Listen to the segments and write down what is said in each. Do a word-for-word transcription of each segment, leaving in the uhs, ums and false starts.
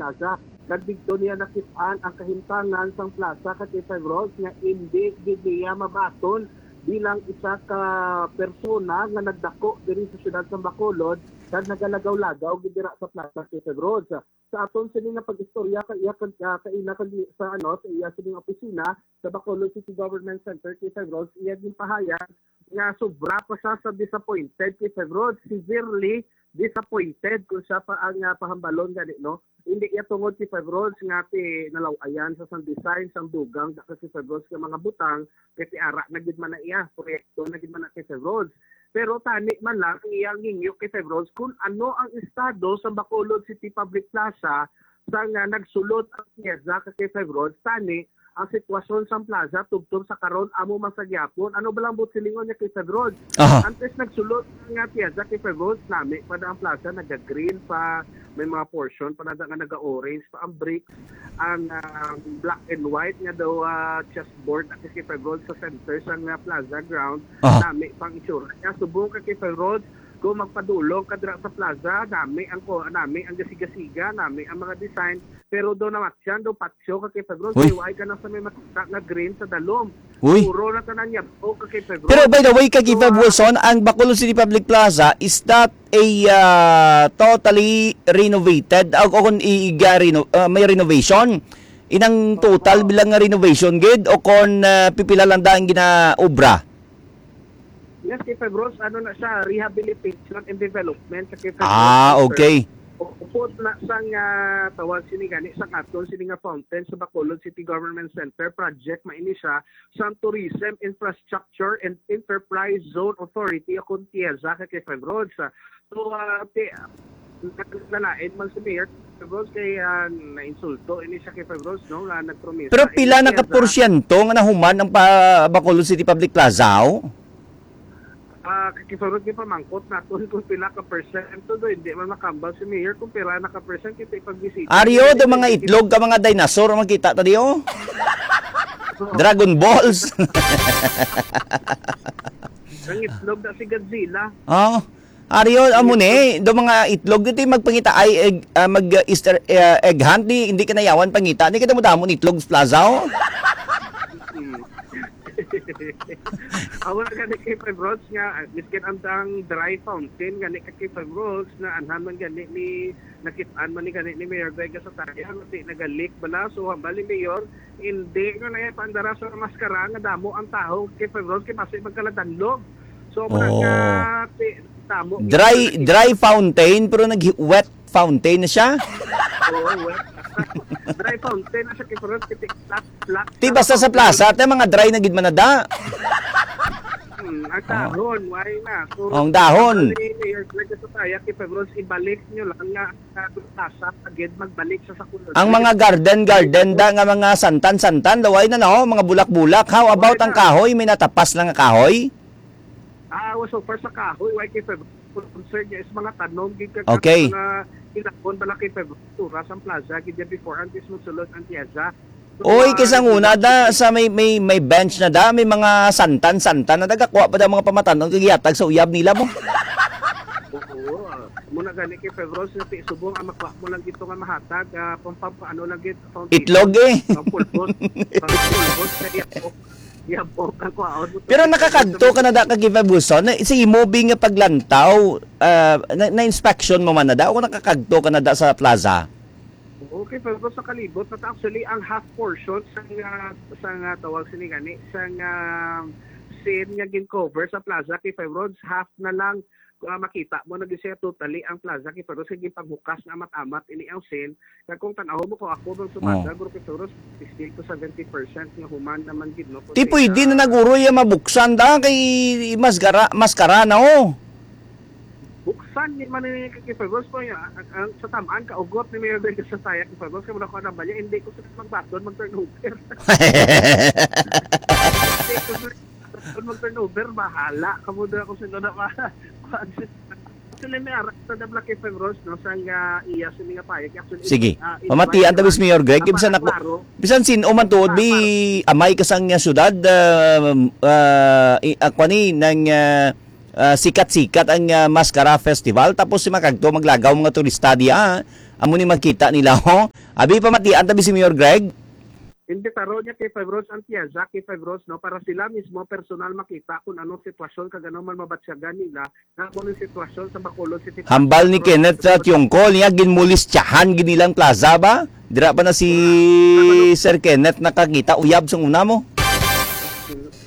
Plaza. Kag didto niya nakit-an ang kahimtangan sang plaza ka K five Roads nga indi gid niya mabaton bilang isa ka persona nga nagdako diri sa siyudad sa Bacolod kag nagalagaw-lagaw gid dira sa plaza K five Roads. Sa aton sini nga pag-istorya ka iya kag, ah, kaina kag sa, ano, sa iya sining opisina sa Bacolod City Government Center K five Roads, iya ginpahayag nga sobra pa siya sa disappointed K five Roads, severely disappointed kung siya pa ang, ah, pahambalon gani, no? Hindi iya tungod K five Roads nga ti nalaw-ayan sa sang design sang dugang sa K five Roads nga mga butang, kay ti ara na gid man na iya, proyekto na gid man na K five Roads. Pero tani man lang ang iyang hingyo K five Roads kung ano ang estado sa Bacolod City Public Plaza sa nga nagsulod ang piyesa ka K five Roads, tani ang sitwasyon sang plaza tubtob sa karon amo man sa gyapon. Ano ba lang buot silingon niya K five Roads? Aha. Antes nagsulod nga piyesa K five Roads, nami pa na ang plaza, naga-green pa, may mga portion pa na nga naga-orange pa ang bricks, ang, ah, black and white nga daw, ah, chessboard na K five Roads sa center sang, ah, plaza ground, Aha. nami pang itsura niya. Subong ka K five Roads, kung magpadulong ka dira sa plaza, nami ang ko, nami ang gasiga-siga, nami ang mga design, pero daw namatyan daw patyo ka K five Roads, Uy. Kay wala ka na sa may makita nga green sa dalom. Uy. Puro na tanan niya, o ka K five Roads. Pero by the way, ka K five So, ah, Wilson, ang Bacolod City Public Plaza, is that a, ah, totally renovated? O, o kung i-, i-, reno-, ah, may renovation? Inang total Oo. bilang nga renovation gid o kon, ah, pipila lang da ang ginaobra? Yes, K five Roads, ano na siya, rehabilitation and development sa K five Roads Ah, Center. Okay. Upod na sang, ah, tawag sini gani, sang aton sini nga fountain sa Bacolod City Government Center project, maini siya sang Tourism Infrastructure and Enterprise Zone Authority o kon TIEZA ka K five Roads. So, ah, ti-, nalain man si Mayor Roads kay, ah, nainsulto ini siya kay Roads, no, nga nagpromesa. Pero pila ini na ka siya sa porsyento nga nahuman ang pa-, Bacolod City Public Plaza, oh? Ah, kay Roads, gipamangkot naton kung pila ka persyento, do, hindi man makambal si Mayor kung pila na ka percent kita ipagbisita. Aryo, do mga itlog ka, mga dinosaur, ang makita ta di, oh. Dragon Balls. Ang itlog na si Godzilla. Oh. Aryo, amo ni, do mga itlog, ito yung magpangita, ay, egg, ah, mag, ah, Easter, ah, egg hunt, di, hindi kanayawan pangita, di kita mo damon itlog sa plaza, oh. Mm. Amo na gani kay Five Roads nga, ah, miskin ang, ang dry fountain, gani ka kay Five Roads, na anhan man gani ni, nakit-an man ni gani ni Mayor Vega sa taya, mati nagalik bala, so hambal ni Mayor, hindi nga na ipandara sa maskara nga damo ang tawo kay Five Roads, kay basi magkaladanlog. So, mura Oh. nga, ti-, tamo. Dry, dry fountain, pero nag-, wet fountain na siya? Oo, wet. Dry fountain na siya, kay parang titik-, flat, flat. Ti, basta sa plaza, te, mga dry na gid manada. Hmm, ang Oh. dahon, why na? So, Ang dahon. Ano ni Mayor Greg sa taya, kay Febron, ibalik nyo lang nga, sa plaza, agad magbalik sa sakuloy. Ang mga garden, garden da, nga mga santan-santan, laway na, no? Mga bulak-bulak. How about Why ang na? kahoy? May natapas lang nga kahoy? Ah, so far sa kahoy, why kay Febron? Concern niya is mga tanom, gid ka Okay. mga ilakon, bala kay Febron. Tura sa plaza, gid niya before, antes magsulod ang tiyaza. So, Oy, ah, kisa ang una da, sa may, may, may bench na da, may mga santan-santan na nagakuha pa da mga pamatanon, kag yatag sa uyab nila mo. Oo, ah, muna gani kay Febron, sa ti-, subong, ang makuha mo lang gito nga mahatag, ah, pang, pang, ano lang gid, foundation. Itlog eh. Pang pulbos. Pang pulbos, kaya Yabok ang kwaon mo. Pero nakakadto ka na da ka Givebuson? Na, sa imo bi nga paglantaw, ah, na, na-inspection mo man na da? O nakakadto ka na da sa plaza? Okay, pero sa kalibot, but actually, ang half portion sa nga, sa nga tawag sini gani, sa nga scene nga gin-cover sa plaza kay Five Roads, half na lang ah, makita mo na gid siya totally ang plaza kay Faros kay gipaghukas na amat-amat ini ang scene. Kag kung tan-awon mo ko, ako bang sumada, Oh. guro kay Faros, sixty to seventy percent nga human naman gid, no? Ti pwede na nag-uroy ang mabuksan da kay maskara, maskara na, oh. Buksan ni man ni kay Faros po, ya, ang, ang, sa tamaan ka ugot ni Mayor Vega sa saya kay Faros, kay wala ko na ba niya, hindi ko sa magbaton, mag-turnover. Hindi ko sa Kung mag-turnover, bahala. Kamo na ako sa na ma-, kuan si-, actually, may ara sa The Black F M Rose, no, sa nga iya sa mga payag. Actually, Sige. ah, Pamatian ta, Miss Mayor Greg, ah, bisan para ako, klaro. bisan sin-o man tuod, Ah, bi, para amay ka sang nga syudad, ah, ah, i-, ah, kuan ni, nang, ah, ah, sikat-sikat ang, ah, Mascara Festival, tapos si makagto maglagaw mga turista diya, ah. Amo ni makita nila, ho? Abi, pamatian tabi si Mayor Greg. Imbitaro niya kay Five Roads ang Tiaza, kay Five Roads, no, para sila mismo personal makita kung anong sitwasyon kag ano man mabatyagan nila nga kung anong sitwasyon sa Bacolod City. Hambal ni Kenneth sa Tiongkol niya, ginmulistyahan gid nilang plaza ba? Dira pa na si Sir Kenneth nakakita, uyab sa una mo.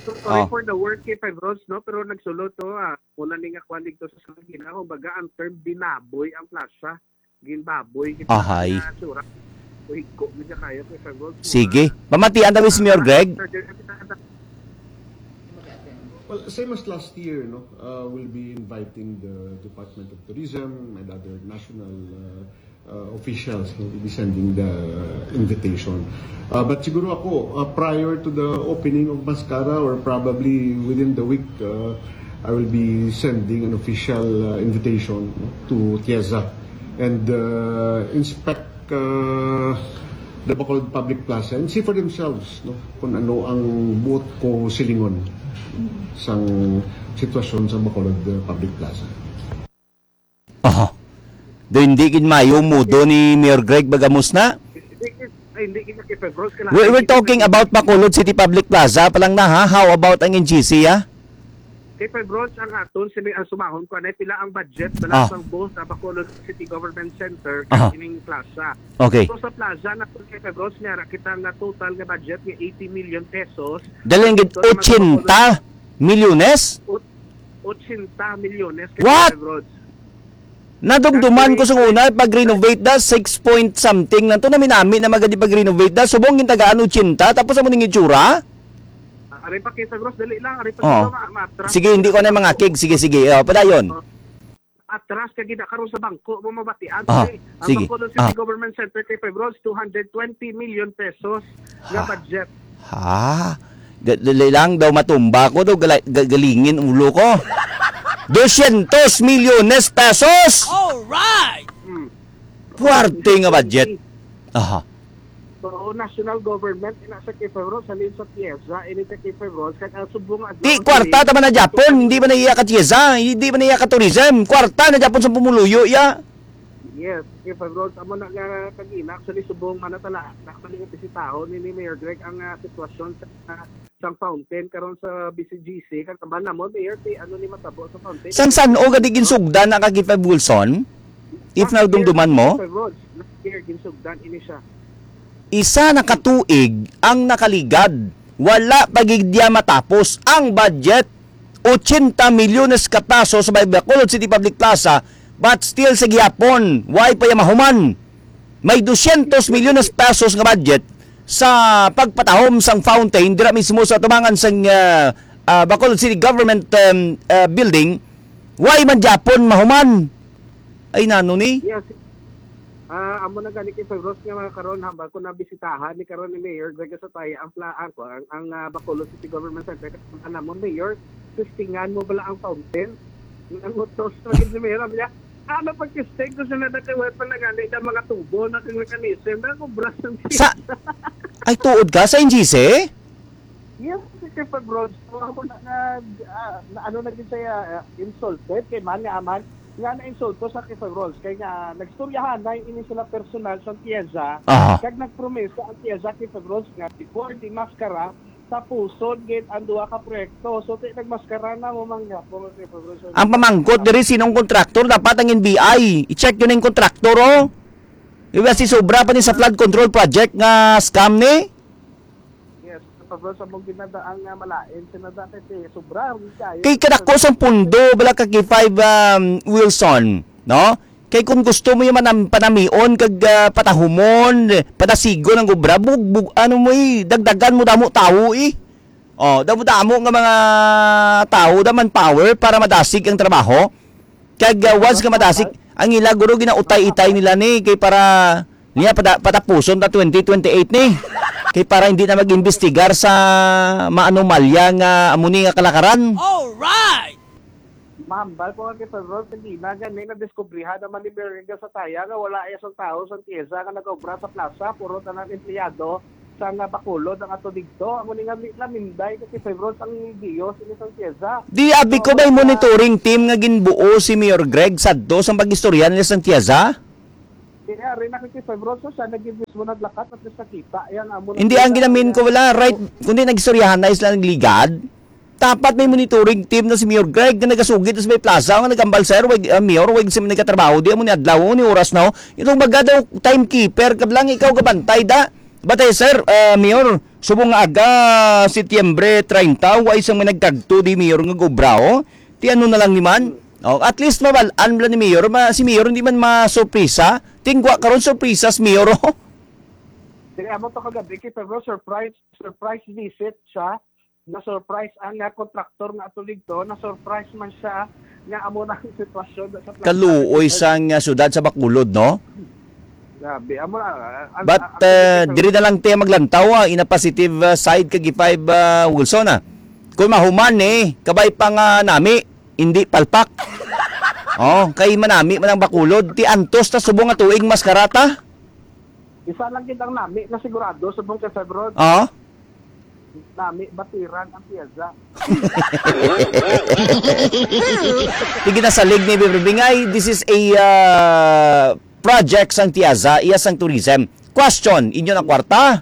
So, sorry Oh. for the word kay Five Roads, no? Pero nagsulod to, ah, muna ni nga kwan dito sa Salagina, kumbaga, ang term binaboy ang plaza. Ginbaboy kita Ahay. nga sura. Uhigko mi sa kayo kay Five Roads. Sige. Pamatian na, Miss Mayor Greg. Well, same as last year, no? Uh, we'll be inviting the Department of Tourism and other national uh, uh, officials, no? We'll be sending the invitation. Uh, but siguro ako, uh, prior to the opening of Mascara or probably within the week, uh, I will be sending an official uh, invitation, no, to Tiaza and uh, inspect uh, the Bacolod Public Plaza and see for themselves, no, kung ano ang buot ko silingon sang sitwasyon sa Bacolod uh, Public Plaza. Aha. Do hindi gid mayo mudo ni Mayor Greg Bagamos na? Hindi gid, ay, hindi gid na kay Febros, kailangan We're, we're hindi gid talking na about Bacolod City Public Plaza pa lang na, ha? How about ang N G C, ha? Kay Febros ang aton, sini-, ang sumahon ko, anay pila ang budget, Ah. bala sang both sa Bacolod City Government Center, Aha. kag ining plaza. Okay. So, sa plaza na kay Febros, meron kita nga total nga budget nga eighty million pesos. Dali lang gid, Ito naman sa ochenta Bacolod milyones? Ot-, ochenta milyones kay What? Febros. Nadumduman ko sa una, pag-renovate da, six point something lang to. Naminami na magadi pag-renovate da. Subong gintagaan ochenta, tapos amo ning itsura? Ah, aray pa, Kay Febros, dali lang. Aray pa, Oo. Kay Febros, ma-, ma-atras. Sige, hindi ko na mangakig. Sige, sige. Oh, padayon. Oh. Atras ka gid karon sa bangko mo mabatian, Ah, eh. Ang sige. Bacolod City Ah. Government Center kay Febros, two hundred twenty million pesos nga Ah. budget. Ha? Ga-, dali lang daw matumba ko daw, gala-, ga-, galingin ulo ko. Dosyentos milyones pesos! Alright! Hmm. Puwerte nga budget. Aha. So, national government, ina sa kay Febros, halin sa Tiesa, ini sa kay Febros, kag ang subong nga Di, adlaw, kwarta ta man na Japon, hindi man na iya ka Tiesa, hindi man na iya ka tourism. Kwarta na Japon sa pumuluyo, ya. Yes, kay Febros, amo na nga kagina, actually, subong man na tala, actually, nga bisitahon ni, ni Mayor Greg ang, ah, sitwasyon sa, ah, sang fountain karon sa B C G C, kag kaban namon, Mayor, ti ano ni matabo sa fountain? Sang san-o gadi ginsugdan na kag Five Wilson? If Last year, nadumduman mo? Sir Rog, last year, ginsugdan ini siya. Isa na ka tuig ang nakaligad. Wala pa gid diya matapos ang budget. Ochenta milyones ka pesos sa Bacolod City Public Plaza, but still sa gihapon, way pa ya mahuman. May dosyentos milyones pesos nga budget sa pagpatahom sang fountain dira mismo sa tubangan sang, ah, ah, Bacolod City Government, um, ah, Building. Way man gyapon mahuman. Ay, nano ni? Yes. Ah, amo na gani kay Febros nga mga karon, hambal ko nabisitahan ni karon ni Mayor Greg Sataya ang pla-, ang, ang, ang, ah, Bacolod City Government Center. Kaya namon, Mayor, testingan mo bala ang fountain? Nangutos na gid si Mayor, sabi niya, "Ano pag testing ko sa nadakaway pa na gani na mga tubo na kang mechanism na kung braso Sa, ay, tuod ka sa N G C? Yes, Sir Febros. So, ako na, na, ah, na, ano na gid siya, ah, insulted kay man nga aman nga na-insulto sa kay Febros. Kay nga, nagstoryahan na ini sila personal sa Tiesa. Aha. Kag nagpromesa ang Tiesa kay Febros nga before di maskara, tapuson gid ang duha ka proyekto. So, ti nagmaskara na mo man nga po, Sir Febros. Ang pamangkot diri, sinong kontraktor? Dapat ang N B I. I-check yun ang kontraktor, oh. Iba si sobra pa ni sa flood control project nga scam ni? Yes, Pablo, sa mong ginadaan nga malain, sinada kay si sobra, hindi kayo. Kay kadako sang pundo, bala ka kay five, um, Wilson, no? Kay kung gusto mo yung manam-, panamion, kag, ah, patahumon, patasigon ang obra, bug-, bug-, ano mo eh, dagdagan mo damo tao eh. Oh, damo-damo nga mga tao, da manpower para madasig ang trabaho. Kag, ah, once nga madasig, ang ila guro ginautay-itay nila ni, kay para niya pada-, patapuson ta twenty twenty-eight ni. Kay para hindi na mag-imbestigar sa maanomalya nga amo ni nga kalakaran. Alright! Mahambal ko nga kay February, hindi na gani nadiskubrihan naman ni Mayor Rega sa Taya nga wala iya sang tao sa Tiesa nga nag-obra sa plaza, puro tanan empleyado sa nga Bacolod ang ato digto. Amo ni nga mi-, naminday kay February ang Dios ini sa Tiesa. Di abi ko may monitoring team nga ginbuo si Mayor Greg sadto sa pag-istorya nila sa Tiesa? Kaya rin nakikipag-bro, so siya nag-, mismo naglakat at least nakita. Yan, amo na Hindi, ang kita. Ginamin ko, wala, right, kundi nagstoryahan na sila nagligad. Dapat may monitoring team na si Mayor Greg na nagasugid sa may plaza, nga nagambal, "Sir, wag, ah, Mayor, wag sa nagkatrabaho, di amo ni adlaw, ni oras na, oh." Itong baga daw, timekeeper, kablang ikaw gabantay, da. Batay, sir, ah, Mayor, subong nga aga, Setyembre treinta, wa isang may nagkagto di Mayor nga gobra, oh. Ti ano na lang ni man? Oh, at least mabal-an bala ni Mayor, ma-, si Mayor hindi man masurpresa. Tingwa karon surpresa si Mayor, oh. Kaya mo to kagabi, kay pero surprise, surprise visit siya. Na-surprise ang, ah, kontraktor nga ato dito, na-surprise man siya nga amo na ang sitwasyon sa plaza. Kaluoy sang, ah, syudad sa Bacolod, no? Grabe, amo na, ah, ang, But, ang, ang, uh, ang, diri na lang tayo maglantaw, ah, in a positive, ah, side kag five, ah, Wilson, ah. Kung mahuman ni, kabay pa nga nami, hindi palpak. Oh, kay manami man ang Bacolod, ti antos ta subong nga tuig mas karata. Isa lang gid ang nami na sigurado subong kay Febron. Oh. Nami batiran ang piyesa. Sige na salig ni Bibibingay, this is a, uh, project sang Tiaza, iya sang tourism. Question, inyo na kwarta?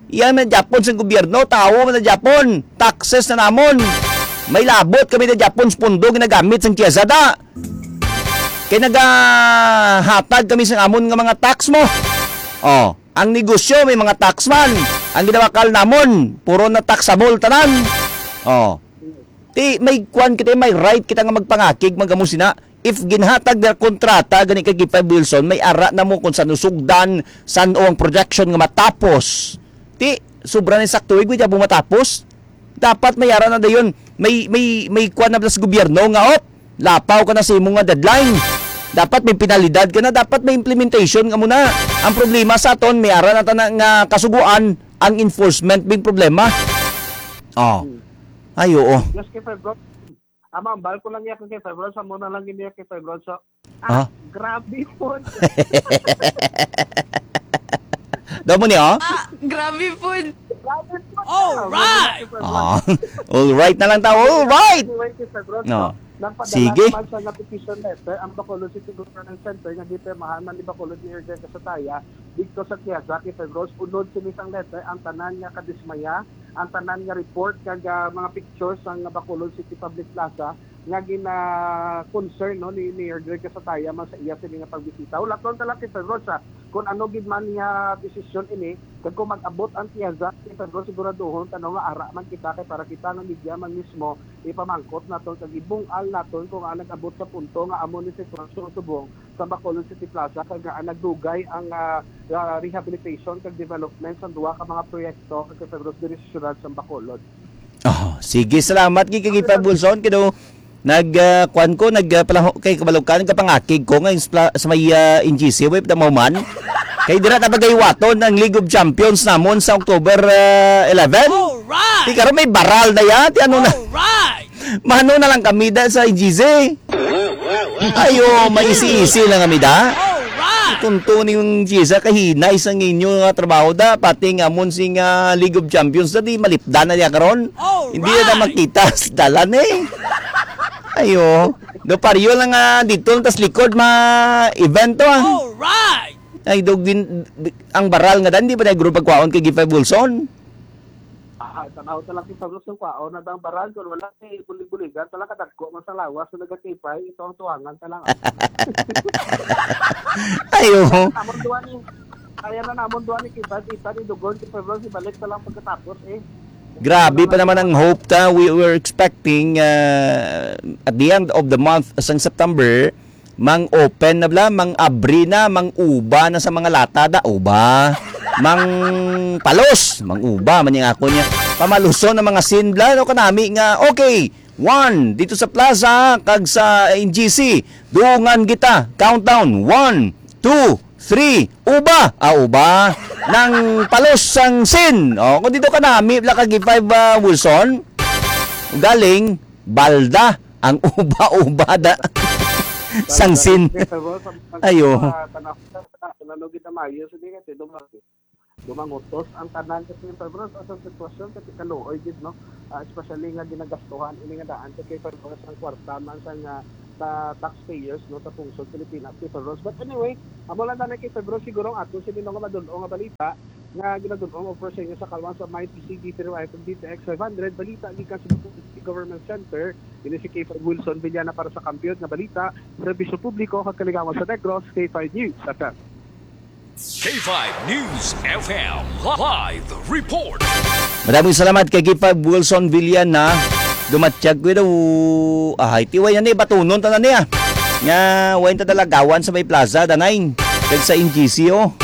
Iya na Japon sang gobyerno, tawo man na Japon, taxes na namon. May labot kami na Japon sa pundo ginagamit sang Tiaza da. Kay nagahatag kami sang amon nga mga tax mo. Oh, ang negosyo may mga tax man. Ang ginawakal namon, puro na taxable tanan. Oh. Ti, may kwan kita, may right kita nga magpangakig, magamo sina. If ginhatag na kontrata, gani kay Gipay Wilson, may ara na mo kung saan sugdan, saan o ang projection nga matapos. Ti, sobra na sakto, eh, di mo matapos. Dapat may ara na dayon. May, may, may kwan na sa gobyerno nga, op, lapaw ka na sa imo nga deadline. Dapat may penalidad ka na, dapat may implementation ka muna. Ang problema sa aton, may ara na ta na nga kasuguan, ang enforcement bing problema. Oh. Hmm. Ay, oo. Yes, kay Febron. Ang ambal ko lang iya kay Febron, sa muna lang gini kay Febron. So, ah, Ah? Grabe po. Daw mo ni, oh? Ah, grabe po. Grabe po. All right. Ah, all right na lang tao. All right. Anyway, kay Febron, No. so, nagpadala Sige. naman siya nga petition letter ang Bacolod City Government Center nga gipirmahan man ni Bacolod Mayor Greg Casataya dito sa Tiaza kay Febron. Unod sini sang letter ang tanan nga kadismaya, ang tanan nga report kag, ah, mga pictures sang Bacolod City Public Plaza nga gina-concern, no, ni Mayor Greg Casataya man sa iya sini nga pagbisita. Hulaton ta lang kay Febron sa kung ano gid man nga desisyon ini, kag kung mag-abot ang Tiaza kay Febron, siguraduhon ta, no, nga ara man kita kay para kita nga media man mismo ipamangkot naton kag ibung-al naton kung ang nag-abot sa punto nga amo ni sitwasyon subong sa Bacolod City Plaza kag nga nagdugay ang, ah, ah, rehabilitation kag development sa duha ka mga proyekto kag kay Febron diri sa siyudad sa Bacolod. Oh, sige, salamat gid kay Gipay Bulson kay daw nag, ah, kuwan ko, nag, ah, palaho-, kay kabalo ka, nagkapangakig ko nga sa pla-, sa may, ah, N G C, way pa man. Kay dira na pagaywaton ang League of Champions namon sa October, ah, eleven. Alright! Di karon may baral na yan. Di ano na. Alright! Mano na lang kami da sa N G C. Ayo, maisi-isi lang kami da. Alright! Tunto ni yung G C, kahinay sa inyo nga trabaho da. Pati nga amon sing, ah, League of Champions da, di malipdan na niya karon. Alright! Hindi na makita sa dalan eh. Ayo. Do paryo lang nga dito, tas likod ma-event to, ah. Alright! Ay, do gin-, ang baral nga dan, di ba na group pagkwaon kay Gipay Bulson? Ah, tanaw ta lang kita sa kwaon na ang baral, kung wala, eh, bulig-buligan ta lang, kadagko man sa lawas na nagakipay, ito ang tuwangan ta lang, ah. Ayo. Namon duwa ni, kaya na namon duwa ni kita, kita ni Dugon, si Febron, si balik ta lang pagkatapos, eh. Grabe pa naman ang hope ta. We were expecting, uh, at the end of the month, sang September, mang open na bala, mang abri na, mang uba na sa mga lata da, uba. Mang palos, mang uba, man yung ako niya. Pamaluson ang mga scene bala, no, kanami nga, okay, one, dito sa plaza, kag sa N G C, dungan kita, countdown, one, two, three, uba, ah, uba, nang palos sang scene. Oh, kung dito kanami bala kag five, ah, Wilson, galing, balda, ang uba-uba da. Sang scene. Ayo. Ano kita mayo, sige, kasi dumang-, dumangutos ang tanan kasi yung Febron sa sitwasyon kasi kaluoy gid, no? Ah, especially nga ginagastuhan ini nga daan kasi Febron ang kwarta man sa nga sa taxpayers, no, sa pungsod Pilipinas, K five Rods. But anyway, amo lang na, K five Rods, siguro ang ato sini nga madul-ong nga balita nga ginadul-ong, of course, sa inyo sa Kalwan sa Mind P C B three Y F M D T X five hundred, balita gikan sa Government Center. Ini si K five Wilson Villana para sa Kampiyon nga Balita, Serbisyo Publiko kag Kaligawan sa Negros, K five News F M. K five News F M live report. Maraming salamat kay K five Wilson Villana. Dumatyag ko daw. Ay, tiway na ni, batunon tanan niya. Nga, way ta dalagawan sa may plaza, danay. Kag sa N G C, oh.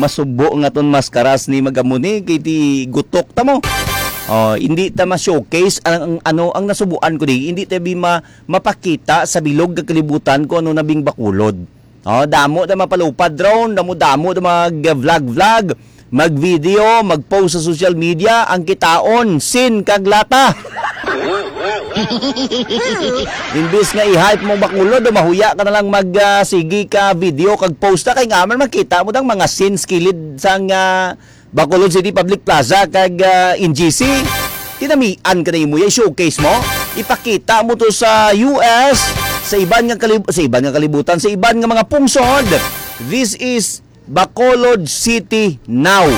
Masubo nga ton maskaras ni magamuni kay ti gutok ta mo. Oh, hindi ta ma-showcase ang, ang ano ang nasubuan ko di. Hindi ta bi ma, mapakita sa bilog nga kalibutan kung ano na bing Bacolod. Oh, damo na mapalupad drone, damo-damo na mag-vlog-vlog, mag-video, mag-post sa social media, ang kitaon, sin kag lata. Imbis nga i-hype mo Bacolod, mahuya ka na lang mag, ah, sige ka video kag post na kay nga man makita mo dang mga sins kilid sang, ah, Bacolod City Public Plaza kag, ah, N G C. Tinamian ka na imo, ya showcase mo. Ipakita mo to sa U S, sa iban nga kalib-, sa iban nga kalibutan, sa iban nga mga pungsod. This is Bacolod City now.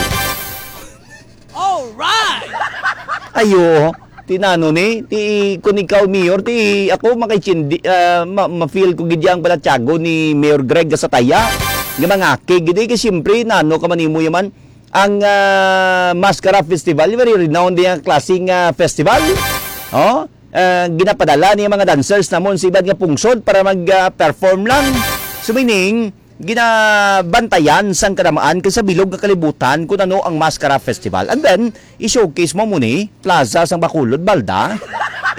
Alright! Ayo, tinano ni, ti, kung ikaw, Mayor, ti, ako, makaichindi, ah, ma-, ma-feel ko gid yang pala tiyago ni Mayor Greg Gasataya. Nga mga kay gid, eh, kay siyempre, nano ka man imo yaman, ang, ah, Mascara Festival, very renowned yung klaseng, ah, festival. Oh, ah, ginapadala niya mga dancers namon sa iban nga pungsod para mag, ah, perform lang. So, meaning, ginabantayan sang kadamaan kag sa bilog nga kalibutan kung ano ang Mascara Festival. And then, i-showcase mo muni, Plaza sang Bacolod, Balda,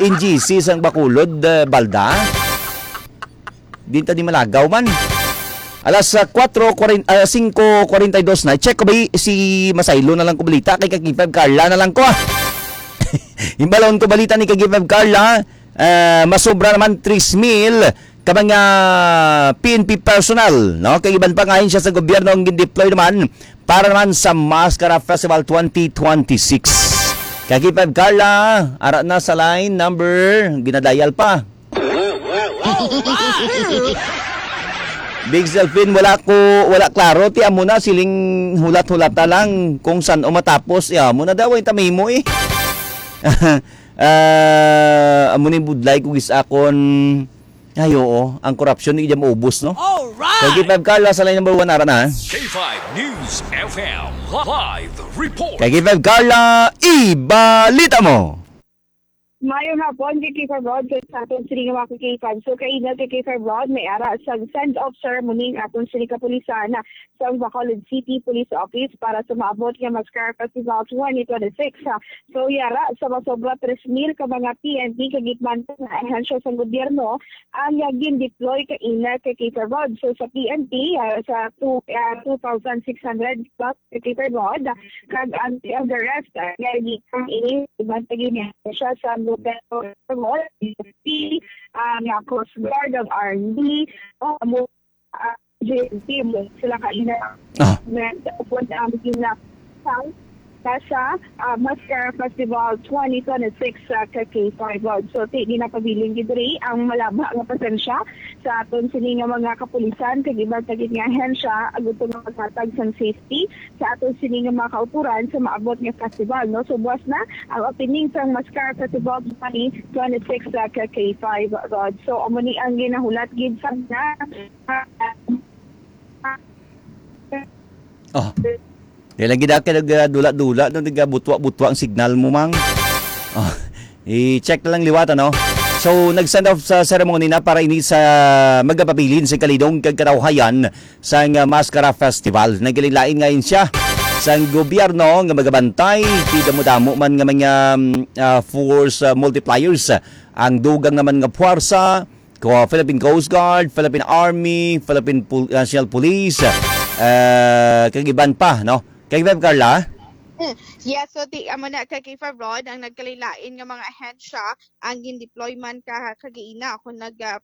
N G C sang Bacolod, eh, Balda. Di ta di malagaw man. Alas, ah, kuwatro kuwarenta, ah, singko kuwarenta y dos na. Check ko ba y-, si Masaylo na lang ko balita kay Kagipag Carla na lang ko, ah. Imbalon ko balita ni Kagipag Carla, ah, masobra naman tres mil ka mga P N P personnel, no? Kag iban pa nga ahensya sa gobyerno ang gindeploy naman para naman sa Mascara Festival twenty twenty-six. Kagipag Carla, ara na sa line number, ginadayal pa. Big Selfin, wala ko, wala klaro. Ti amo na, siling hulat-hulata lang kung san o matapos. Ya, amo na daw, ay tamimo eh. Ah, amo ni budlay ko gis akon. Ay, oo, ang korupsyon ni Ijam Ubos, no? Alright! Kagipag Carla sa line number one, ara na. K five News F M live report. Kagipag Carla, ibalita mo. Mayong hapon, Vicky Farod, kag sa aton sini nga mga ka-K five. So, kaina ka-K five Rod, may ara sa send-off ceremony ang aton sini kapulisan sa Bacolod City Police Office para sa maabot nga Mascara Festival twenty twenty-six. So, yara sa masobra tres mil ka mga P N P kag iban pa nga ahensya sa gobyerno ang gin-deploy kaina ka-K five Rod. So, sa P N P, ah, sa two, ah, two thousand six hundred plus ka-K five Rod, kag ang, ang the rest, ah, nga gikan ini, iban pa gid siya sa Lubero, P, ah, nga Coast Guard, ang Army, o, amo, ah, J N T, mo sila kaina. Ah. Upon ang gina-, sa, sa, ah, Mascara Festival twenty twenty-six sa ka-K five Rod. So, ti, ginapabilin gid diri ang malaba nga presensya sa aton sini nga mga kapulisan, kag iban pa gid nga ahensya, agud nga maghatag sang safety sa aton sini nga mga kautoran sa maabot nga festival, no? So, buwas na ang opening sang Mascara Festival twenty twenty-six sa ka-K five Rod. So, amo ni ang ginahulat gid sa mga Oh. Dili lang gid ka nagdula-dula, no? Nagabutwa-butwa ang signal mo, mang. Oh. I-check na lang liwat, ano? So, nag-send off sa ceremony na para ini sa magapabilin sa kalidong kag katawhayan sang, ah, Mascara Festival. Nagkalain-lain nga ahensya sang gobyerno nga magabantay, ti damo-damo man nga mga, mm, ah, force, ah, multipliers. Ang dugang naman nga puwersa, ko, Philippine Coast Guard, Philippine Army, Philippine Pol-, National Police, ah, kag iban pa, no? Kag iban, Carla? Hmm. Yes, so ti, amo na ka-K five Rod, ang nagkalain-lain nga mga ahensya ang gin-deploy man ka, kagaina, kung nag, ah,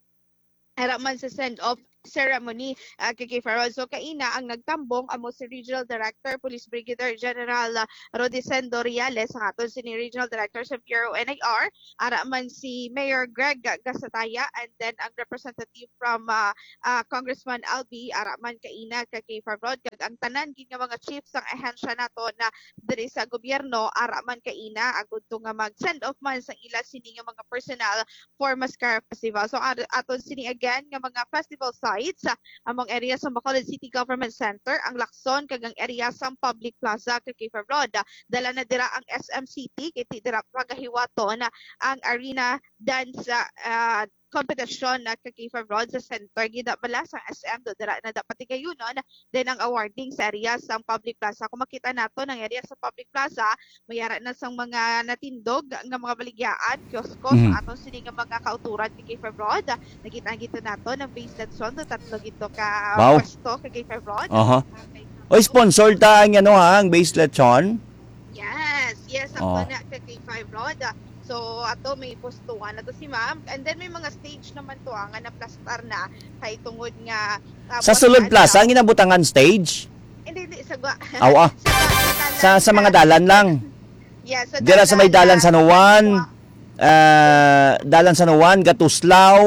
ara man sa send-off ceremony, ah, kay K five Rod. So, kaina ang nagtambong amo si Regional Director, Police Brigadier General, ah, Rodicendo Reales, ang aton sini Regional Director sa Bureau N I R, ara man si Mayor Greg Gasataya, and then ang representative from, ah, ah, Congressman Albi, ara man kaina kay K five Rod, kag ang tanan gid nga mga chief sang ahensya nato na diri sa gobyerno, ara man kaina, agud to nga mag-send off man sa ila sini nga mga personnel for Mascara Festival. So, ar-, aton sini again nga mga festival sites, ah, among area sa Bacolod City Government Center, ang Lacson, kag ang area sa Public Plaza, kag K five Rod. Dala na dira ang S M City, kay ti dira pagahiwaton ang arena dance, ah, competition na kag K five Rod sa center. Gida bala sa S M, do dira na dapat tigayunon. Then ang awarding sa area sang Public Plaza. Kung makita nato ang area sa Public Plaza, mayara na sang mga natindog nga mga baligyaan, kiosko, Mhm. sa aton sini nga mga kauturan ni K five Rod. Nakita gito nato ng Base Lechon, so tatlo gito ka Wow. pwesto kay K five Rod. Aha. Okay. Oy, sponsor ta ang ano ha, ang Base Lechon. Yes, yes, ang Oh. na kay K five Rod. So, ato may pustuhan na to si ma'am. And then may mga stage naman to ah, nga naplastar na kay tungod nga, ah, Sa buwan Sulod na Plaza, adlaw. Ang ginabutangan stage? Hindi, hindi, sa gwa-, Aw, ah. sa gwa-, Sa, sa mga ah, dalan lang. Yeah, sa Dira sa may dalan dalan sa Nuwan. Wa- Ah, dalan sa Nuwan, Gatuslaw.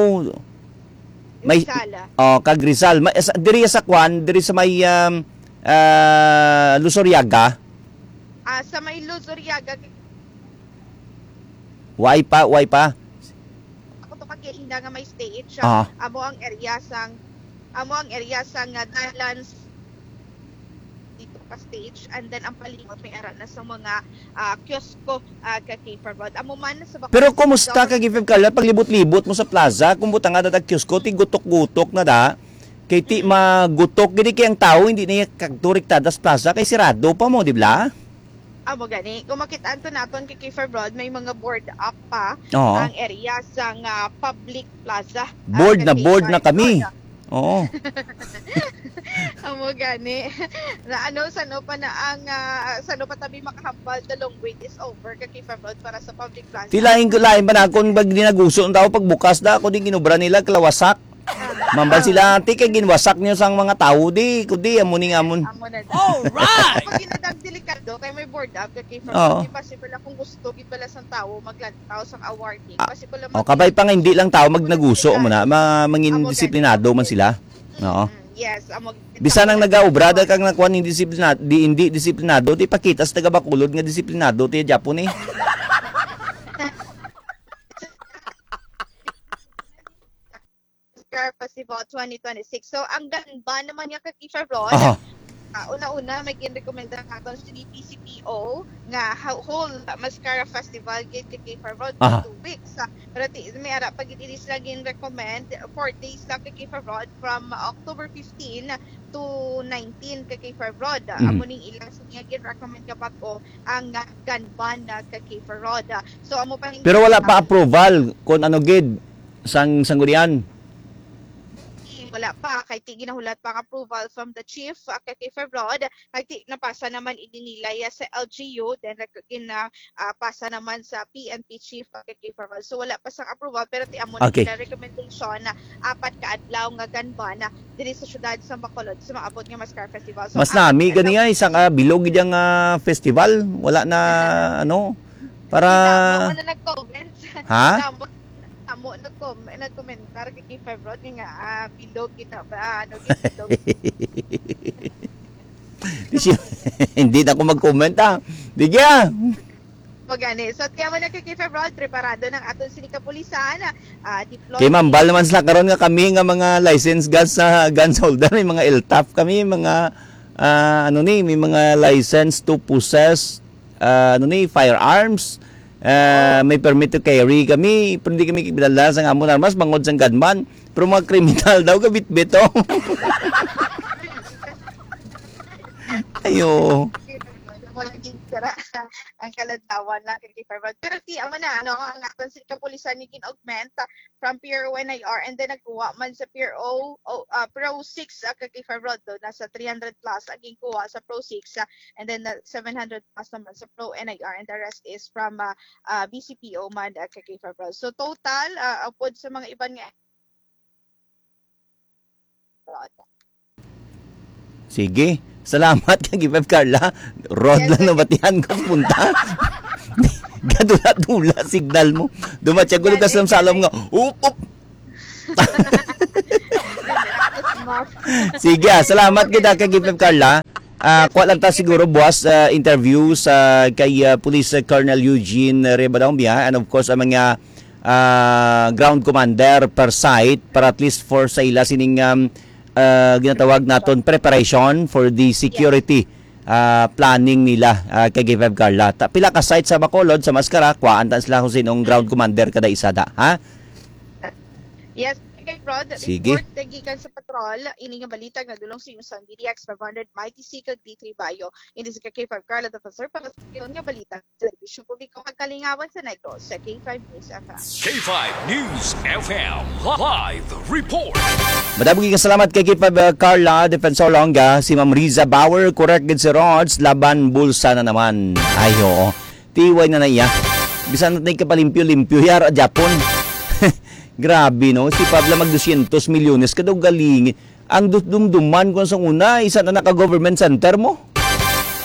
May, Rizal. Oh, kag Rizal. Ma-, sa, diri sa kwan, diri sa may, um, ah, Luzuriaga. Ah, sa may Luzuriaga. Way pa, way pa. Ako to kag ina nga may stage. Ah. Amo ang area sang, amo ang area sang, ah, dalan s-, dito ka stage, and then ang palimot may ara na sa mga, ah, kiosko, ah, ka K five Rod. Amo man sa Bacolod Pero City kumusta ka, Government. K five Carla, paglibot-libot mo sa plaza, kung butanga na tag kiosko, ti gutok-gutok na da. Kay ti Mm. magutok, gini kay ang tao, hindi na kagturiktada sa plaza, kay sirado pa mo, di ba? Amo gani. Kung makita-an to naton kay K five Rod, may mga board up pa Oo. ang area sang, ah, public plaza. Ah, Board na, kay board na K five kami. Rod. Oo. Amo gani. Na ano, sano pa na ang, ah, sano pa tabi makahambal, the long wait is over kay K five Rod para sa public plaza. Ti lain ko, lain pa na akong pag dinaguso ang tao, pagbukas na ako, di ginubra nila, kalawasak. Mambal sila, "Ante, kay ginwasak niyo sang mga tawo, di, kundi, amo ni nga amon." Amo na. Alright! Pag ginadag delikado, kay may board up, kay from Oo. Di possible akong gusto, gid bala sang tawo, maglantaw sang awarding. Ah, Possible lang oh, mag- kabay pa nga hindi lang tao magnaguso mo na, ma-, mangin Amo gani. disiplinado man sila. Oo. Mm, yes, amo gani. Bisan ang nagaobra, da kang nakuan, hindi disiplina-, di, hindi disiplinado, di pakita sa taga Bacolod nga disiplinado, ti Japon eh. Oscar Festival twenty twenty-six. So, ang ganban naman nga kag K five Rod, Aha. ah, una-una, may ginrekomenda naton sa P C P O nga ha-, whole Mascara Festival gid kag K five Rod for Aha. two weeks. Ah, pero ti-, may ara pa gid ini sila gin-recommend, four days lang kag K five Rod from October fifteen to nineteen kag K five Rod. Ah, Mhm. amo ning ilang siya gin-recommend nga bag-o ang, ah, ganban na kag K five Rod. Ah, so, amo pa ning Pero wala pa approval kung ano gid sang sanggunian. Wala pa, kay ti ginahulat pa ang approval from the chief, ah, kay K five Rod, kay ti napasa naman ini nila ya sa L G U, then rec-, gina-, ah, pasa naman sa P N P chief, ah, kay K five Rod. So wala pa sang approval, pero ti amo na Okay. nila recommendation na apat ka adlaw nga ganban na diri sa syudad sa Bacolod sa maabot nga Mascara Festival. So, Mas ang nami gani ay isa ka bilog gid ang, ah, festival, wala na ano para Damo na nag-comment. Ha? Damo, damo nag-com-, nag-commentar kay K five Rod nga, ah, bilog kita ba? Ano, bilog. Di siya, hindi na ako mag-comment, ah. Di kaya. O gani. So, tiyan mo na kay K five Rod, preparado ng aton sini kapulisan, ah, deploy. Kay mambal naman sila karon nga kami nga mga licensed guns sa guns holder, may mga L T A F kami, mga, ah, ano ni, may mga license to possess, ah, ano ni, firearms. Ah, may permit to carry kami, pero hindi kami kibidala sa amon armas, bangod sa gunman. Pero mga kriminal daw, gabitbit, oh. Ayo. Wala gid sira ang kalantawan na kay K five Rod. Pero ti, amo na, ano, ang aton sa kapulisan ni gin-augment, ah, from P R O N I R, and then nagkuha man sa P R O, o, ah, Pro six, ah, kay K five Rod, do, nasa three hundred plus ang ginkuha sa Pro six, ah, and then, ah, seven hundred plus naman sa Pro N I R, and the rest is from, ah, ah, B C P O man, ah, kay K five Rod. So, total, ah, upod sa mga iban nga Rod. Sige. Salamat kay K five Carla. Rod Yes, lang sir. Nabatihan ko punta. Gadula-dula signal mo. Dumatya ko lugas ng salam nga. Up, up. Sige, ah, salamat gid, ah, kay K five Carla. Ah, kuha lang ta siguro buwas, ah, interview sa kay, ah, Police Colonel Eugene Rivadavia, and of course ang mga, ah, ground commander per site para at least for sa ila sining, um, ah, ginatawag naton preparation for the security, ah, planning nila, ah, kay K five Carla. Ta-, pila ka site sa Bacolod, sa Mascara, kuhaan ta sila kung sinong ground commander kada isa da, ha? Yes, kay Rod, Sige. Report na gikan sa patrol, ini nga balita nga dulong sa inyo sa D D X five hundred, Mighty C kag D three Bayo. Ini sa K five Carla Defensor para sa karon nga balita sa serbisyo publiko kag kalingawan sa Negros sa K five News F M. K five News F M live report. Madamo nga salamat kay K five, uh, Carla Defensor Longa, si Ma'am Riza Bauer, correct gid si Rods, laban bulsa na naman. Ay, oo. Tiway na na iya. Bisan na tayo kapalimpyo-limpyo, yara, Japon. Grabe, no? Si Pabla mag dosyentos milyones, kadaw galing. Ang dus-, dumduman ko sa una, isa na naka-government center mo.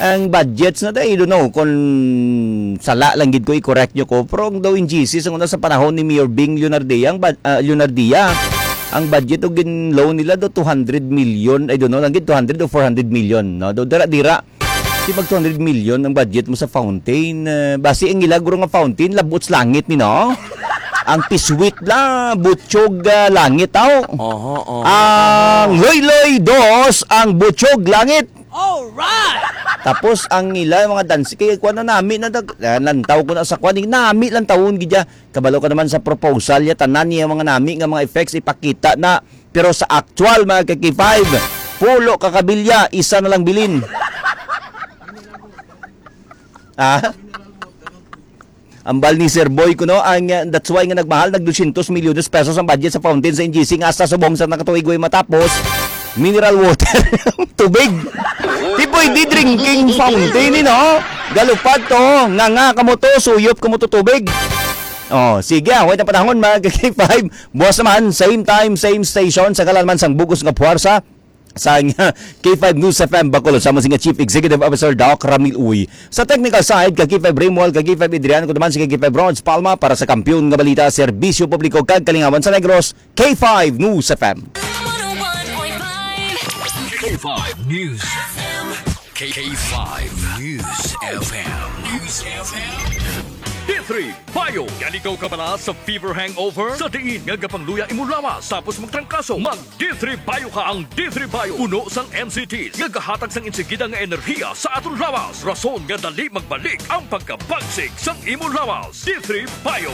Ang budgets na tayo, I don't know kung sala lang gid ko, i-correct nyo ko. Pero ang daw in G C, sa una sa panahon ni Mayor Bing Leonardia, ang, ba- ah, Leonardia, ang budget o gin-loan nila do two hundred million, I don't know, lang gid two hundred o four hundred million, no? Do dira-dira. Di mag two hundred million ang budget mo sa fountain. Eh, basi ang ila guro nga fountain, labot sa langit ni, no? Ang piswit la, butyog, ah, langit, aw. Oho, oho. Ang Loyloy dos, ang butyog langit. Alright! Tapos ang ila mga dansi, kaya kuha na nami na, dag- ah, lantaw ko na sa kuha, nami lang tawon gidya. Kabalo ka naman sa proposal ya, tanan niya mga nami nga mga effects ipakita na. Pero sa actual, mga ka-K five, pulo ka kabilya, isa na lang bilin. Ah? Ambal ni Sir Boy kuno, ang, uh, that's why nga nagmahal, nag dosyentos milyones pesos ang budget sa fountain sa N G C nga hasta subong sa nakatuig way matapos, mineral water, tubig. Di pwede drinking fountain, eh, no? Galupad to, nga nga kamo to, suyop kamo to tubig. Oh, sige, ah, way na panahon, mga ka-K five. Buwas naman, same time, same station, sa kalan man sang bugos nga puwersa, sang K five News F M Bacolod, sama si nga Chief Executive Officer Doc Ramil Uy. Sa technical side, ka K five Raymol, ka K five Adrian, ko naman si ka K five Ronz Palma para sa Kampiyon nga Balita, Serbisyo Publiko kag Kalingawan sa Negros, K five News F M. K five News. K five News F M. News F M. D three Bio. Yan ikaw kabala sa fever hangover? Sa diin nga gapangluya imo lawas tapos magtrangkaso? Mag D three Bio ka. Ang D three Bio puno sang M C Ts nga gahatag sang insigida nga enerhiya sa aton lawas, rason nga dali magbalik ang pagkabagsik sang imo lawas. D three Bio.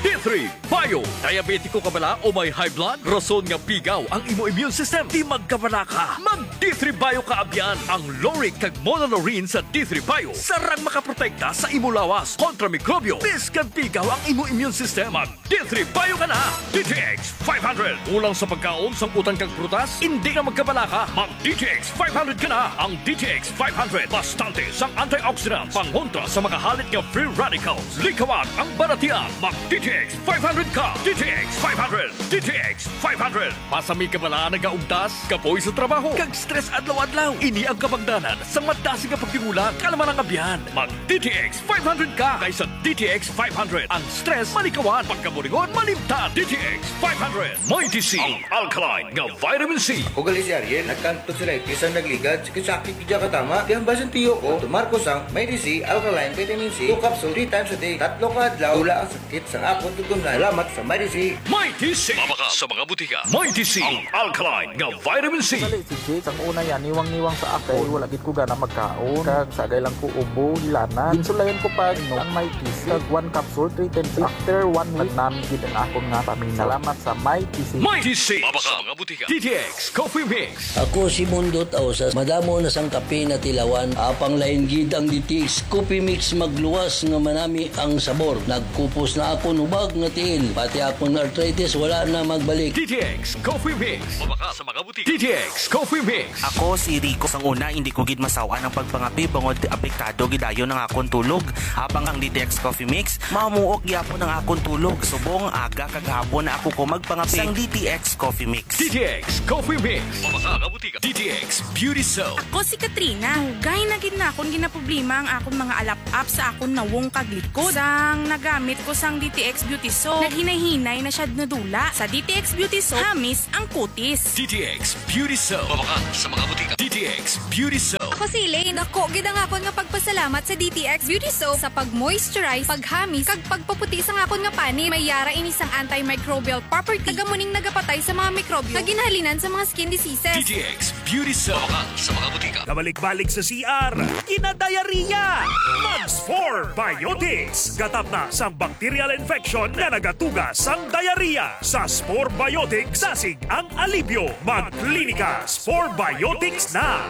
D three Bio. Diabetiko ka bala o may high blood? Rason nga pigaw ang imo immune system. Di magkabala ka. Mag D three Bio ka abyan. Ang lauric kag monolaurin sa D three Bio sarang makaprotekta sa imo lawas kontra mikrobyo. Bisan pigaw ang imo immune system, mag D three Bio ka na. D T X five hundred. Kulang sa pagkaon, sangkutan kag prutas? Hindi na magkabala ka. Mag D T X five hundred ka na. Ang D T X five hundred, bastante sang antioxidants, pangontra sa mga halit nga free radicals. Likawan ang balatian. Mag D T X five hundred ka. D T X five hundred. D T X five hundred. Basi may kabala, nagaugtas, kapoy sa trabaho, kag stress adlaw-adlaw. Ini ang kabangdanan sang madasig nga pagtingula, kalma lang abyan. Mag D T X five hundred ka, kay sa D T X five hundred, ang stress malikawan, pagkaburingon malimtan. D T X five hundred. Mighty C, ang alkaline nga vitamin C. Ugali si Ariel, nagkanto sila, isang nagligad, sakit-sakit, di ka tama. Kaya ang basin tiyo ko, tumar ko sang Mighty C, alkaline vitamin C, two capsule, three times a day. Tatlo ka adlaw, wala ang sakit sang akon tugon na. Salamat sa Mighty C. Mighty C. Mabakal sa mga butika. Mighty C, ang alkaline nga vitamin C. Dali, si Jake, ang una yan, niwang-niwang sa ako. Wala gid ko gana magkaon. Kag sagay lang ko ubo, hilanat. Ginsulayan ko pa, no, ang Mighty C. Kag one capsule, three times. After one week, nagnami gid ang akon nga paminaw. Salamat sa Mighty C. Mighty C. Mabakal sa mga butika. D T X Coffee Mix. Ako si Mundot Ausas. Madamo na sang kape natilawan. Apang lain gid ang D T X Coffee Mix, magluwas nga manami ang sabor. Nagkupos na ako, hubag nga tiil, pati akong arthritis, wala na magbalik. D T X Coffee Mix. Mabakal sa mga butika. D T X Coffee Mix. Ako si Rico. Sang una, hindi ko gid masawan ang pagpangapi bangod apektado gid dayon ang akon tulog. Habang ang D T X Coffee Mix, mamuok gyapon ang akon tulog. Subong aga kag hapon na ako ko magpangapi sang D T X Coffee Mix. D T X Coffee Mix. Mabakal sa mga butika. D T X Beauty Soap. Ako si Katrina. Dugay na gid na akon ginaproblema ang akon mga alap-ap sa akon nawong kag likod. Sang nagamit ko sang D T X Beauty Soap, naghinay-hinay na siya nadula. Sa D T X Beauty Soap, hamis ang kutis. D T X Beauty Soap. Mabakal sa mga butika. D T X Beauty Soap. Ako si Elaine. Dako gid ang akon nga pagpasalamat sa D T X Beauty Soap sa pag-moisturize, paghamis, kag pagpaputi sang akon nga panit. May yara ini sang antimicrobial property. Taga mo ning nagapatay sa mga mikrobyo nga ginhalinan sa mga skin diseases. D T X Beauty Soap. Mabakal sa mga butika. Kabalik-balik sa C R, ginadiarrhea. Mag Spore Biotics. Gatap na sang bacterial infection nga nagatuga sang diarrhea. Sa Spore Biotics, dasig ang alibyo. Mag Klinika Spore Biotics na.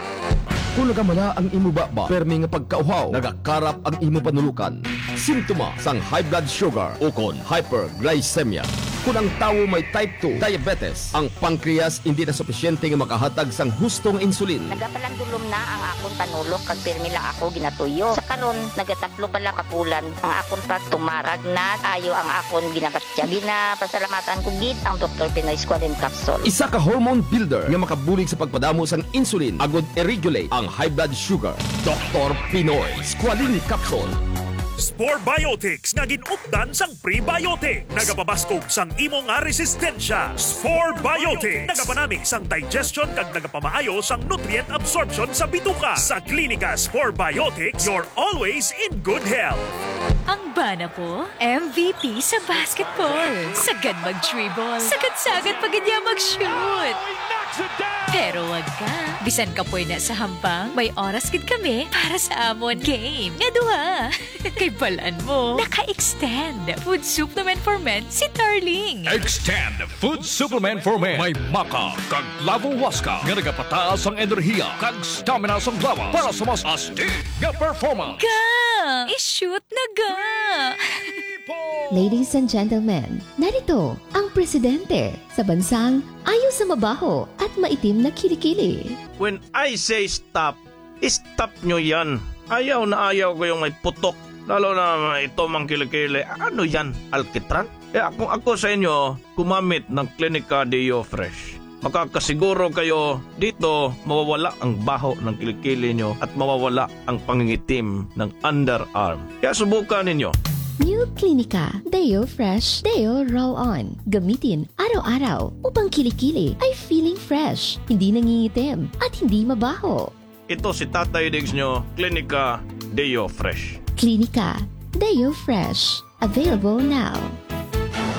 Kung nagamala ang imo baba, permi nga pagkauhaw, nagakarap ang imo panulokan, simptoma sang high blood sugar ukon hyperglycemia. Kung ang tawo may type two diabetes, ang pancreas hindi na supisyente nga makahatag sang husto nga insulin. Nagapalandulom na ang akon panulok kag pirmi lang ako ginatuyo. Sa karon, nagatatlo pa lang ka bulan ang akon pagtumar kag nag-ayo ang akon ginabatya. Ginapasalamatan ko gid ang Doktor Pinoy Squalene Capsule. Isa ka hormone builder nga makabulig sa pagpadamo sang insulin agud i-regulate ang high blood sugar. Doktor Pinoy Squalene Capsule. Spore Biotics nga gin-updan sang prebiotic. Nagapabaskog sang imo nga resistensya. Spore Biotics. Nagapanami sang digestion kag nagapamaayo sang nutrient absorption sa bituka. Sa Klinika Spore Biotics, you're always in good health. Ang bana ko, M V P sa basketball. Sagad mag-dribble. Sagad-sagad pa gid niya mag-shoot. Pero wag ka. Bisan kapoy na sa hampang, may oras gid kami para sa amon game nga duha. Kay balan mo, naka-extend Food Supplement for Men si Darling. Extend Food Supplement for Men. May maca kag lavo huasca nga nagapataas ang enerhiya kag stamina sang lawas para sa mas astig nga performance. Ga! I-shoot na ga! Ladies and gentlemen, narito ang presidente sa bansang ayo sa mabaho at maitim na kilikili. When I say stop, stop nyo yan. Ayaw na ayaw ko yung may putok. Lalo na ito mang kilikili. Ano yan? Alkitran? Kaya kung ako sa inyo, gumamit ng Clinica Deo Fresh. Makakasiguro kayo dito mawawala ang baho ng kilikili nyo at mawawala ang pangingitim ng underarm. Kaya subukan ninyo. New Clinica Deo Fresh Deo Roll On. Gamitin araw-araw upang kilikili ay feeling fresh, hindi nangingitim, at hindi mabaho. Ito si Tatay Diggs nyo, Clinica Deo Fresh. Clinica Deo Fresh. Available now.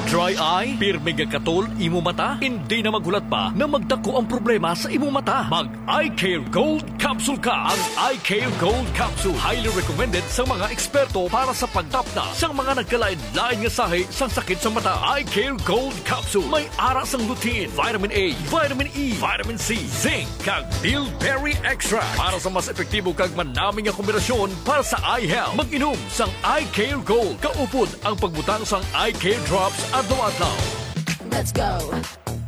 Dry eye? Pirmi nga katol imo mata? Hindi na maghulat pa na magdako ang problema sa imo mata. Mag Eye Care Gold Capsule ka. Ang Eye Care Gold Capsule highly recommended sa mga eksperto para sa pagtapna sa mga nagkalain-lain nga sahi sang sakit sa mata. Eye Care Gold Capsule may ara sang lutein, vitamin A, vitamin E, vitamin C, zinc, kag bilberry extract para sa mas epektibo kag manami nga kombinasyon para sa eye health. Mag-inom sang Eye Care Gold. Kaupod ang pagbutang sang Eye Care Drops adlaw-adlaw. Let's go.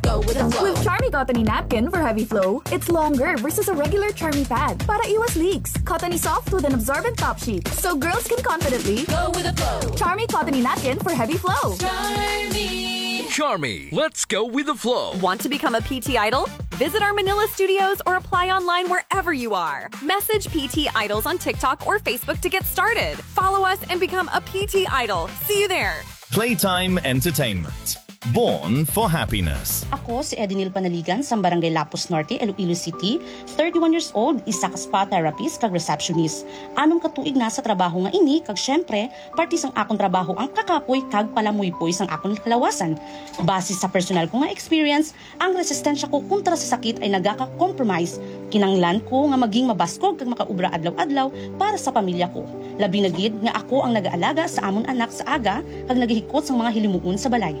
Go with the flow. With Charmy Cottony Napkin for Heavy Flow, it's longer versus a regular Charmy pad. Para iwas leaks, Cottony soft with an absorbent top sheet, so girls can confidently go with the flow. Charmy Cottony Napkin for Heavy Flow. Charmy. Charmy, let's go with the flow. Want to become a P T Idol? Visit our Manila studios or apply online wherever you are. Message P T Idols on TikTok or Facebook to get started. Follow us and become a P T Idol. See you there. Playtime Entertainment. Born for happiness. Ako si Edinil Panaligan sang Barangay Lapuz Norte, Iloilo City, thirty-one years old, isa ka spa therapist kag receptionist. Anom ka tuig na sa trabaho nga ini, kag siyempre, parte sang akon trabaho ang kakapoy kag palamuypoy sang akon kalawasan. Base sa personal ko nga experience, ang resistensya ko kontra sa sakit ay nagaka-compromise. Kinanglan ko nga maging mabaskog kag makaobra adlaw-adlaw para sa pamilya ko. Labi na gid nga ako ang nagaalaga sa amon anak sa aga kag nagahikot sang mga hilimuon sa balay.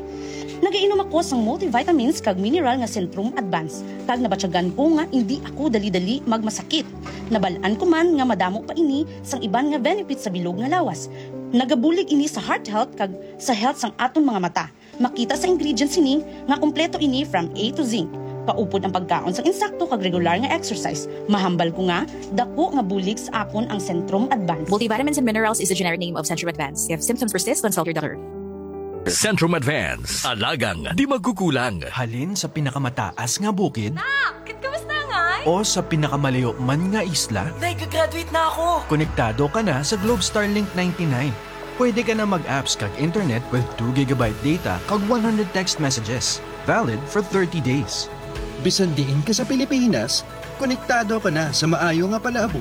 Nagainom ako sang multivitamins kag mineral nga Centrum Advance, kag nabatyagan ko nga indi ako dali-dali magmasakit. Nabal-an ko man nga madamo pa ini sang iban nga benefits sa bilog nga lawas. Nagabulig ini sa heart health kag sa health sang aton mga mata. Makita sa ingredients sini nga kompleto ini from A to Z. Kaupod ang pagkaon sang insakto kag regular nga exercise. Mahambal ko nga dako nga bulig sa akon ang Centrum Advance. Multivitamins and minerals is the generic name of Centrum Advance. If symptoms persist, consult your doctor. Centrum Advance. Alagang di magkukulang. Halin sa pinakamataas nga bukid Nak, kit kamusta ngay? O sa pinakamalayo man nga isla, Day, gagraduate na ako! Konektado ka na sa Globe Starlink ninety-nine. Pwede ka na mag-apps kag internet with two gigabyte data kag one hundred text messages, valid for thirty days. Bisan diin ka sa Pilipinas, konektado ka na sa maayo nga palaabo